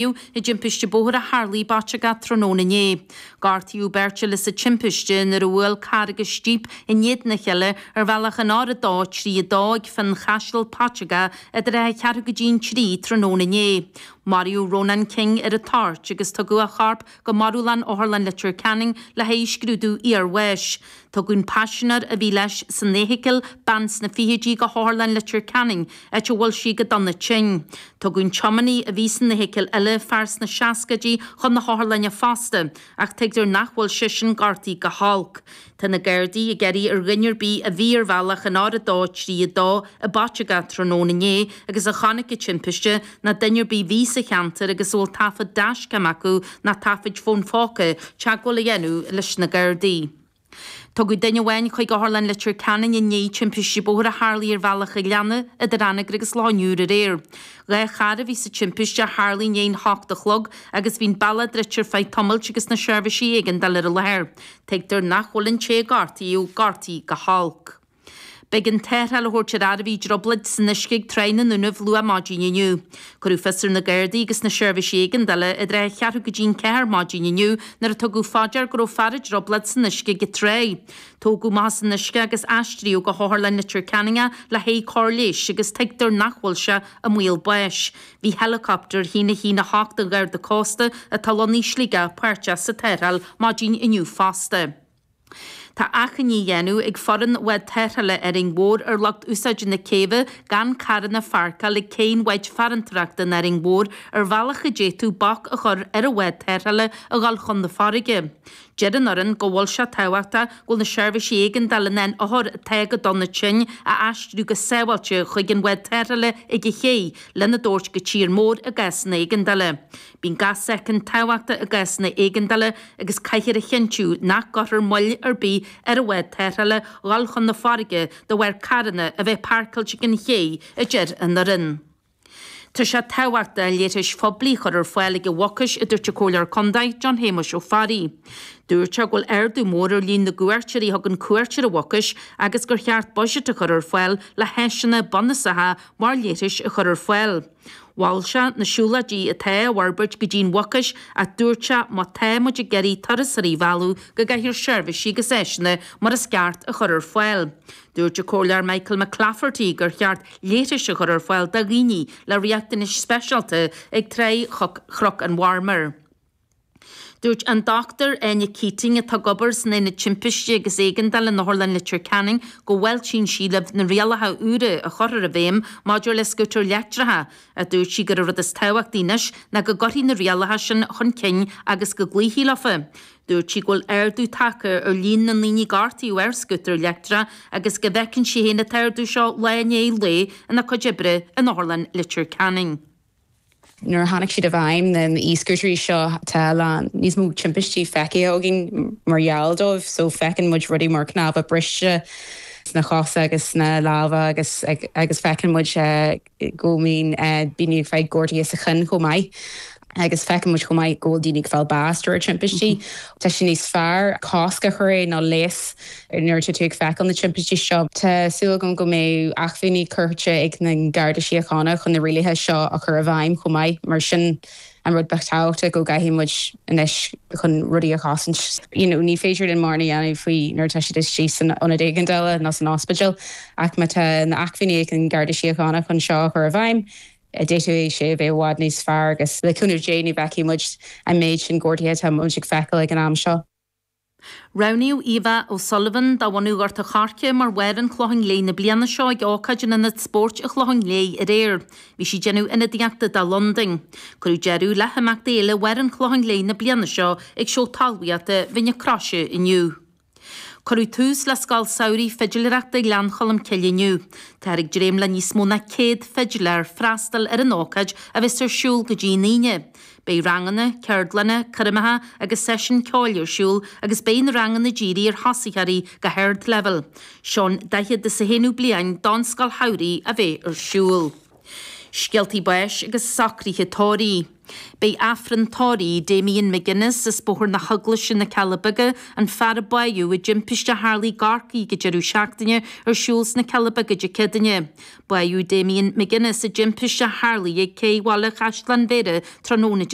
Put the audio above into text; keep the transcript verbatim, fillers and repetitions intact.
I dtimpiste bóthair a tharlaigh i bPaiteagach tráthnóna inné. Gortaíodh beirt eile sa timpiste nuair a bhuail carr agus jíp in éadan a chéile ar bhealach an R a dó trí a dó ag Fionchaiseal, Paiteagach, idir a ceathrú go dtí an trí tráthnóna inné. Maraíodh Rónán King ar an toirt agus tugadh a chorp go marúlann Otharlann Leitir Ceanainn le haghaidh scrúdú iarbháis. Tugadh an paisinéir a bhí leis san fheithicil, bean sna fichidí, go hOtharlann Leitir Ceanainn, áit a bhfuil sí go dona tinn. Tugadh an tiománaí a bhí san fheithicil eile, fear sna seascaidí, chun na hotharlainne fosta, ach tuigtear nach bhfuil seisean gortaithe go holc. Tá na Gardaí ag iarraidh ar dhuine ar bith a bhí ar bhealach an R a dó trí a dó i bPaiteagach tráthnóna inné agus a chonaic an timpiste, ná duine ar bith a bhí sa cheantar agus a bhfuil taifead dashcam acu ná taifid fón phóca, teagmháil a dhéanamh leis na Gardaí. Tugadh duine amháin chuig Otharlann Leitir Ceanainn i ndiaidh timpiste bóthair a tharlaigh ar bhealach an Ghleanna idir Anagaire agus Loch an Iúir aréir. Dhá charr a bhí sa timpiste a tharlaigh i ndiaidh an hocht a chlog agus bhí an bealach druidte ar feadh tamaill agus na seirbhísí éigeandála ar an láthair. Tuigtear nach bhfuil an té a gortaíodh gortaithe go holc. B'éigean tarrtháil a thabhairt ar fhear a bhí i dtrioblóid san uisce ag Tráigh na nDúnaibh luath maidin inniu. Cuireadh fios ar na Gardaí agus na seirbhísí éigeandála idir a cheathrú go dtí an ceathair maidin inniu nuair a tugadh fá dear go raibh fear i dtrioblóid san uisce ag an tráigh. Tógadh amach as an uisce agus aistríodh go hOtharlann Leitir Ceanainn é le haghaidh cóir leighis agus tuigtear nach bhfuil sé i mbaol báis. Bhí heileacoptar a haon a haon a hocht an Gharda Cósta atá lonnaithe i Sligeach páirteach sa tarrtháil maidin inniu fosta. Tá achainí á dhéanamh ag foireann bhád tarrthála Árainn Mhór ar lucht úsáide na céibhe gan carranna a pháirceáil ag cé an bháid farantóireachta in Árainn Mhór ar bhealach a d'fhéadfadh bac a chur ar an bhád tarrthála a dhul chun na farraige. Deir an fhoireann go bhfuil sé tábhachtach go bhfuil na seirbhísí éigeandála in ann othair atá go dona tinn a aistriú go sábháilte chuig an bhád tarrthála ag an ché lena dtabhairt go tír mór i gcásanna éigeandála. Bíonn gach soicind tábhachtach i gcásanna éigeandála agus caithfear a chinntiú nach gcuirfear moill ar bith ar an bhád tarrthála dhul chun na farraige de bharr carranna a bheith páirceáilte ag an ché, a deir an fhoireann. Tá sé tábhachtach leithris phoiblí a chur ar fáil ag an Mhucais, a dúirt an Comhairleoir Contae, John Shéamuis Ó Fearraigh. Dúirt sé go bhfuil ardú mór ar líon na gcuairteoirí a thugann cuairt ar an Mhucais agus gur cheart buiséad a chur ar fáil le háiseanna bunúsacha mar leithris a chur ar fáil. Mhol sé na siúlóidí atá á bhforbairt go dtí an Mhucais ach dúirt sé má tá muid ag iarraidh turasóirí a mhealladh go gcaithfear seirbhísí agus áiseanna mar is ceart a chur ar fáil. Dúirt an Comhairleoir Michael McClafferty gur cheart leithris a chur ar fáil do dhaoine le riachtanais speisialta ag Tráigh Chnoc an Mharmair. Dúirt an Dochtúir Áine Keating, atá ag obair san Aonad Timpiste agus Éigeandála in Otharlann Leitir Ceanainn, go bhfáiltíonn sí le na rialacha úra a chuirfear i bhfeidhm maidir le scútair leictreacha, ach dúirt sí gur an rud is tábhachtaí anois ná go gcuirfí na rialacha sin chun cinn agus go gcloífí leofa. Dúirt sí go bhfuil ardú tagtha ar líon na ndaoine a gortaíodh ar scútar leictreach agus go bhfeiceann sí féin an t-ardú seo lá i ndiaidh lae ina cuid oibre in Otharlann Leitir Ceanainn. Nuair a tháinig siad i bhfeidhm na e-scootairí seo tá a lán níos mó timpistí feicthe againn mar gheall dóibh, so feiceann muid rudaí mar cnámha briste sna cosa agus sna lámha agus agus feiceann muid go mbíonn daoine ag fáil gortuithe sa cheann chomh maith. Agus feiceann muid chomh maith go bhfuil daoine ag fáil bás de bharr timpistí. Tá sé níos fearr cosc a chur air ná leigheas nuair atá tú ag feiceáil na timpistí seo. Tá súil agam go mbeidh acmhainní curtha ag na Garda Síochána chun na rialacha seo a chur i bhfeidhm chomh maith, mar sin an rud ba tábhachtaí go gcaithfidh muid anois chun rudaí a chosaint. You know, ní féidir linn mórán a dhéanamh faoi nuair atá siad istigh san ionad éigeandála nó san ospidéal, ach má tá na acmhainní ag an Garda Síochána chun seo a chur i bhfeidhm, d'fhéadfadh sé a bheith i bhfad níos fearr agus le cúnamh Dé ní bhfeicfidh muid an méid sin gortuithe atá muid ag feiceáil ag an am seo. Roghnaíodh Eva O'Sullivan de bhunadh Ghort an Choirce mar Mháire an Chlocháin Léith na bliana seo ag ócáid in Ionad Spóirt an Chlocháin Léith aréir. Bhí sí ag déanamh ionadaíochta do Londain. Cuireadh deireadh le himeachtaí Fhéile Mháire an Chlocháin Léith na bliana seo ag seó talmhaíochta Mhín na Croise inniu. Cuireadh tús le Scoil Samhraidh Fidiléireachta Ghleann Cholm Cille inniu. Táthar ag dréim le níos mó ná céad fidiléir freastal ar an ócáid a bheas ar siúl go dtí an Aoine. Beidh ranganna, ceardlanna, coirmeacha agus seisiúin ceoil ar siúl agus beidh na ranganna dírithe ar thosaitheoirí go hardleibhéal. Seo an daichead is a haonú bliain don Scoil Shamhraidh a bheith ar siúl. Scéaltaí báis agus socruithe tórraimh. Beidh Aifreann tórraimh Damien McGuinness as Bóthar na hEaglaise na Cealla Beaga an fear a bádh i dtimpiste a tharlaigh i gCorcaigh ag an deireadh seachtaine ar siúl sna Cealla Beaga Dé Céadaoine. Bádh Damien McGuinness i dtimpiste a tharlaigh ag cé Bhaile Chaisleáin Bhéarra tráthnóna Dé